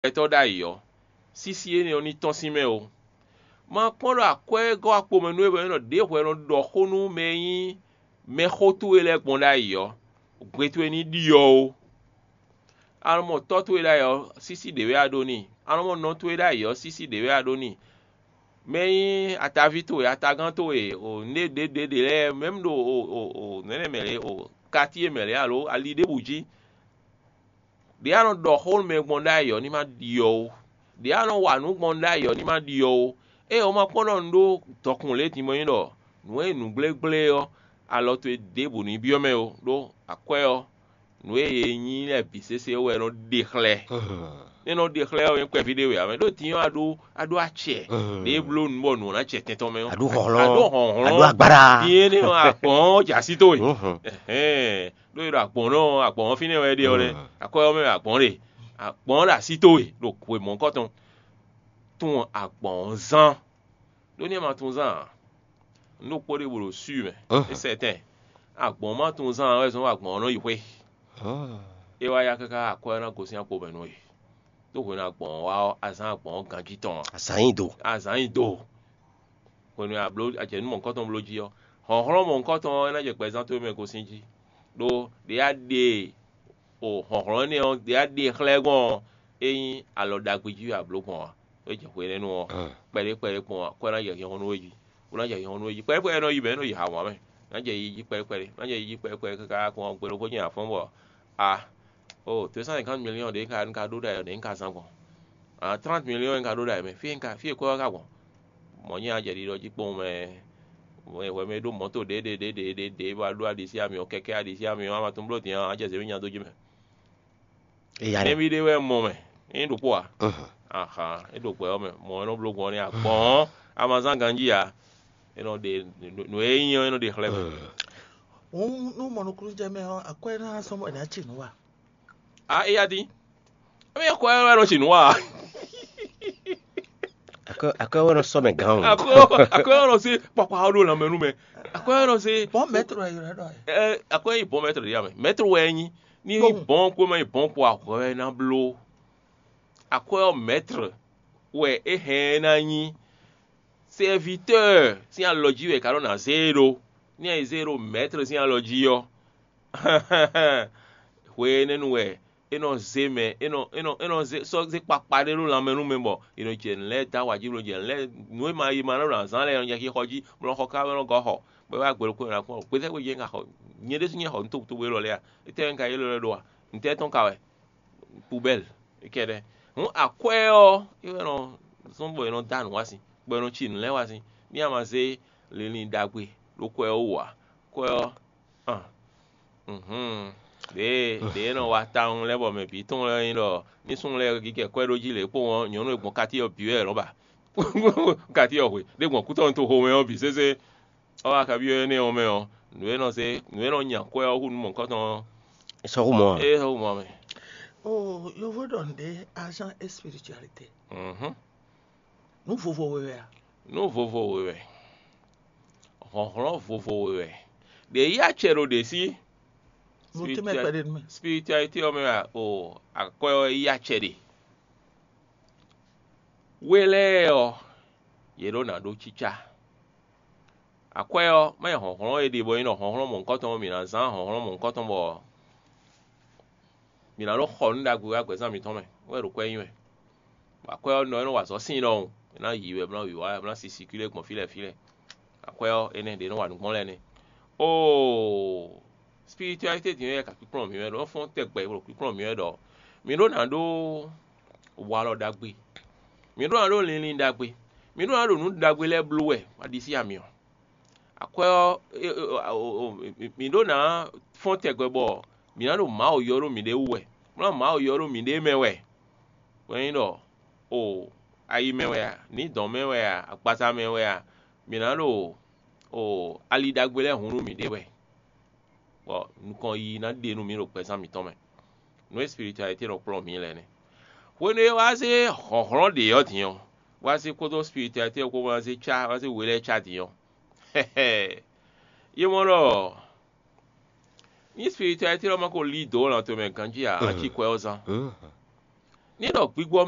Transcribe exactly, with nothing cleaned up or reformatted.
gbɛtɔ́ ɖ'ayǐ ɔ́, sísí énɛ́ ɔ́ ní tɔ́n sín mɛ ó. Ma kpɔ́n ɖɔ akwɛ́ gɔ́ akpo mɛ nú we bɔ é nɔ ɖě hwɛ nɔ ɖɔ xó nú mɛ e nyí mɛxó towe lɛ́ɛ gbɔn ɖ'ayǐ ɔ́, gbe towe ní ɖyɔ́ ó. A nɔ mɔ tɔ́ towe ɖ'ayǐ ɔ́, sísí ɖě wɛ a ɖó n'i; a nɔ mɔ nɔ towe ɖ'ayǐ ɔ́, sísí ɖě wɛ a ɖó n'i. Mɛ e nyí ataví towe, atagán towe, o nǔɖé ɖěɖěɖě lɛ́ɛ, mɛ̌m ɖo o o o nɛ̌nɛ mɛ lě, o katíe mɛ lě alo ali ɖěbǔ jí, ɖě a nɔ ɖɔ xó nú mɛ gbɔn ɖ'ayǐ ɔ́, ní ma ɖyɔ́ ó; ɖě a nɔ wa nǔ gbɔn ɖ'ayǐ ɔ́, ní ma ɖyɔ́ ó. Ée ɔ́, ma kpɔ́n ɖɔ un ɖó dɔkun lě din bɔ nyí ɖɔ nǔ e nyí nǔgblégblé ɔ́, alɔ towe ɖěbǔ ní byɔ́ mɛ ó, ɖó akwɛ́ ɔ́, nǔ e è nyí lɛ́ɛ bǐ sésé wɛ é nɔ ɖe xlɛ́. É nɔ ɖe xlɛ́ ɔ́, nyɛ kpɛví ɖé wɛ ǎ mɛ, ɖó din ɔ́, a ɖó a ɖó acɛ ɖě e bló nǔ bɔ nǔ ɔ́ ná jɛ tɛn tɔn mɛ ɔ́. A ɖó hlɔ̌nhlɔ́n, a ɖó hlɔ̌nhlɔ́n, a ɖó agbára. Din énɛ́ ɔ́, agbɔ̌n ɔ́ jɛ así towe. Ɛhɛn, ɖó è ɖo agbɔ̌n ɔ́, agbɔ̌n ɔ́ fínɛ́ wɛ é ɖe ɔ́ nɛ́. Akwɛ́ ɔ́ mɛ wɛ agbɔ̌n ɖe. Agbɔ̌n ɔ́ ɖo así towe ɖo hwe mɔ̌hunkɔtɔn. Tunwun agbɔ̌n ɔ́ zán. Ɖó nú é ma tunwun zán ǎ, nǔ ɖokpó ɖěbǔ ɖo swi mɛ. É sɛ tɛn. Agbɔ̌n ma tunwun zán ǎ wɛ zɔ́n agbɔ̌n ɔ́ nɔ yi xwé. É wá yá káká akwɛ́ ɔ́ ná gosín akpo mɛ nú we. Ɖó hwenu e agbɔ̌n ɔ́ wá ɔ́, a zán agbɔ̌n ɔ́ ganjí tɔn ǎ. Azǎn nyi do. A zǎn nyi do. Hwenu e a bló a jɛ nǔ mɔ̌hunkɔtɔn bló jí ɔ́, hlɔ̌nhlɔ́n mɔ̌hunkɔtɔn ɔ́ é ná jɛ gbɛzán towe mɛ gosín jí. Ɖó ɖě a ɖe o hlɔ̌nhlɔ́n énɛ́ ɔ́, ɖě a ɖe xlɛ́ gbɔn ɔ́, é nyí alɔ ɖagbe jí wɛ a blǒ gbɔn ǎ. É jɛ hwenɛ́nu ɔ́, kpɛɖé kpɛɖé kpɔn ǎ, kɔ ná jɛ hinhɔn nú we jí. Bó ná jɛ hinhɔn nú we jí. Kpɛɖé kpɛɖé nɔ yi mɛ, é nɔ yi hawǎn mɛ. Ná jɛ yi jí kpɛɖé kpɛɖé, ná jɛ yi jí kpɛɖé kpɛɖé káká kɔn gbe ɖokpó jɛ́n afɔ́n bɔ a o deux cent cinquante millions ɖě ka un ka ɖó ɖ'ayǐ ɔ́, ɖě un ka zán gbɔn. A trente millions un ka ɖó ɖ'ayǐ mɛ, fí un ka fí e kwɛ́ ɔ́ ka gbɔn? Mɔ̌ nyí a jɛ ɖiɖɔ jí kpowun mɛ. Hwɛ mɛ ɖó mɔ̌to ɖě ɖě ɖě ɖě ɖě ɖě bɔ a ɖó aɖisí amyɔ, kɛkɛ́ aɖisí amyɔ, a ma tunwun bló din ɔ́, a jɛ zěmí nya dó jí mɛ. Éya ɖe. Nɛví ɖé wɛ mɔ mɛ, é nyí ɖokpó ǎ. Ahan, é ɖo gbɛ ɔ́ mɛ, mɔ̌ é nɔ bló gbɔn n'i agbɔ̌n, a ma zán ganjí ǎ. É nɔ ɖe nǔ e nyí ɔ́, é nɔ ɖe xlɛ́ mɛ. Hǔn nú mɔ nukúnnú jɛ mɛ ɔ́, akwɛ́ ná sɔ́ mɔ è nǎ ci nǔ wa. A éya dín. Émí akwɛ́ wɛ nɔ ci nǔ wa. Akwɛ́ akwɛ́ wɛ nɔ sɔ́ mɛ gǎn o. Akwɛ́ akwɛ́ wɛ nɔ sí kpakpa ɔ́ ɖo lanmɛ nú mɛ. Akwɛ́ wɛ nɔ sí. Bɔn mɛtro yɛ yɔ ɖɔ yɛ. Ɛ akwɛ́ yi bɔn mɛtro ɖe ya mɛ. Mɛtro wɛ nyi. Ní bɔn kó mɛ yi bɔn kó ahwɛ wɛ ná bló. Akwɛ́ ɔ́ mɛtro wɛ é hɛn ná nyí. Sɛvitɔ́ɔ sín alɔ jí wɛ è ka nɔ ná zé e ɖó. Ní a yi zé e ɖo mɛtro sín alɔ jí ɔ́, hwe énɛ́ nu wɛ é nɔ zé mɛ, é nɔ é nɔ é nɔ zé sɔ́ zé kpakpa ɖé ɖó lanmɛ nú mɛ bɔ è nɔ jɛ nǔ lɛ́ɛ dó awa jí, bó nɔ jɛ nǔ lɛ́ɛ nǔ e ma yi ma nɔ ɖo azǎn lɛ́ɛ nɔ jɛ xixɔ jí, bó nɔ xɔ ká bó nɔ gɔ́ xɔ, bó wá gbe ɖokpó nya kpɔ́n, gbetɛ́ xwé jɛ́n ka xɔ nyɛ ɖésú nyɛ xɔ nǔ tokpotokpo élɔ́ lɛ́ɛ a? Étɛ́ wɛ un ka ylɔ́ lɛ́ ɖó a? Ntɛ́ tɔn ka wɛ? Poubelle kɛ́ɖɛ́. Hǔn akwɛ́ ɔ́ é wɛ nɔ zɔ́n bɔ è nɔ dó anǔ wá sin, bɔ è nɔ ci nǔ lɛ́ɛ wá sin. Ní a ma zé linlin ɖagbe ɖó kwɛ́ ɔ́ wú ǎ, kwɛ́ ɔ́ Ɖě ɖě e nɔ wa tawun lɛ́ɛ bɔ mɛ bǐ tunwun lɛ́ɛ nyí ɖɔ ní súnnu lɛ́ɛ gígɛ kwɛ́ ɖó jí lě kpowun ɔ́, nyɔ̌nu e gbɔn katíyɔ bǐ wɛ è nɔ ba. Katíyɔ hwe ɖé gbɔn kútɔ́nú toxo mɛ ɔ́ bǐ sésé. Ɔ́ wá kabyɔ́ énɛ́ ɔ́ mɛ ɔ́, nǔ e nɔ zé nǔ e nɔ nya kwɛ́ ɔ́ hú nǔ mɔ̌hunkɔtɔn ɔ́, É sɔ́ hú mɔ ǎ. É sɔ́ hú mɔ mɛ. Oh, yovo ɖɔ nǔɖé agent et spiritualité. Mhm. Nǔ vovo we wɛ a? Nú vovo we wɛ, hlɔ̌nhlɔ́n vovo we wɛ, ɖě yí acɛ ɖo ɖě sí. Mo tɛ́ mɛ kpɛɖé nú mɛ. Spiritualité ɔ́ mɛ wɛ o akwɛ́ ɔ́ yí acɛ ɖe. We lɛ́ɛ ɔ́, yě ɖó ná ɖó cícá. Akwɛ́ ɔ́, má nyí hlɔ̌nhlɔ́n e ɖe bɔ é nyí ɖɔ hlɔ̌nhlɔ́n mɔ̌hunkɔtɔn ɔ́, mǐ ná zán hlɔ̌nhlɔ́n mɔ̌hunkɔtɔn bɔ mǐ ná nɔ xɔ nǔ ɖagbe wá gbɛ̌zán mǐtɔn mɛ, wɛ ɖo kwɛ́ nyi wɛ. Bɔ akwɛ́ ɔ́ nɔ é nɔ wa azɔ̌ sín ɖɔhun, è nǎ yǐ wɛ, bó ná wǐwá, bó ná sisikílé gbɔn fí lɛ́ɛ fí lɛ́ɛ. Akwɛ́ ɔ́, énɛ́ ɖě nɔ wa nǔ gbɔn lɛ́ɛ nɛ́. Oo, spiritualité din wɛ ka kpíkplɔ́n mǐ wɛ ɖɔ, é fɔ́n tɛgbɛ ɖo kpíkplɔ́n mǐ wɛ ɖɔ mǐ ɖó ná ɖó walɔ ɖagbe, mǐ ɖó ná ɖó linlin ɖagbe, mǐ ɖó ná ɖo nǔ ɖagbe lɛ́ɛ bló wɛ, ma ɖi sí amyɔ. Akwɛ́ ɔ́, mǐ ɖó ná fɔ́n tɛgbɛ bɔ mǐ ná ɖo Mawu ylɔ́ ɖó mǐɖée wú wɛ, bó ná Mawu ylɔ́ ɖó mǐɖée mɛ wɛ. Bɔ é nyí ɖɔ o ayi mɛ wɛ a, nǐdɔn mɛ wɛ a, agbaza mɛ wɛ a, mǐ ná ɖo o ali ɖagbe lɛ́ɛ hun nú mǐɖée wɛ, bɔ nukɔn yiyi ná ɖe nú mǐ ɖo gbɛzán mǐtɔn mɛ. Nǔ e spiritualité nɔ kplɔ́n mǐ lɛ́ɛ nɛ́. Hwenu e wá zé hlɔ̌nhlɔ́n ɖě ɔ́ din ɔ́, wá zé kpódó spiritualité ɔ́ kpó wá zé cá wá zé we lɛ́ɛ cá din ɔ́, é mɔ ɖɔ ní spiritualité ɔ́ ma ko lí dǒ lan towe mɛ ganjí ǎ, a cí kwɛ ɔ́ zán. ní ɖɔ gbigbɔ mɛ